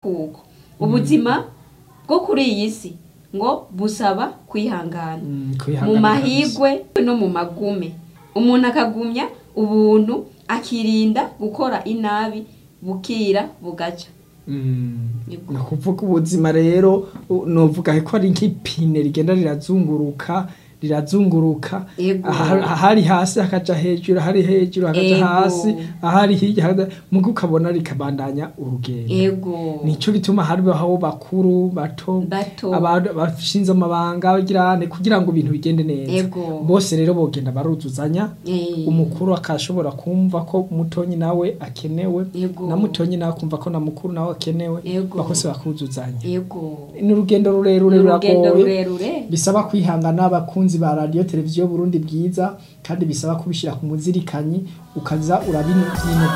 Kuko ubuzima bwo kuri iyi si ngo busaba kwihangana Mm, mu kwihangana kabisa. Mahigwe no mu magume, umuntu akagumya ubuntu, akirinda gukora inabi, bukira bugaca. Yego. Ni ukuvuga ubuzima rero novuga ko ari nk'ipine rigenda rirazunguruka, rirazunguruka. Ahari hasi hakaja hejuru, ahari hejuru hakaja hasi, ahari hirya muga ukabona rikabandanya urugendo. Nico gituma hariho bakuru, bato, bato, abantu bashinze amabanga bagirane kugira ngo ibintu bigende neza. Bose rero bogenda baruzuzanya, umukuru akashobora kumva ko mutonyi nawe akenewe, na mutonyi nawe akumva ko na mukuru nawe akenewe, bakose bakuzuzanya. Ni urugendo rurerure, Ni urugendo ruragoye, rurerure. bisaba kwihangana, abakunzi ba Radiyo Televiziyo Burundi Bwiza, kandi bisaba kubishyira ku muzirikanyi, ukaza urabinyinugura.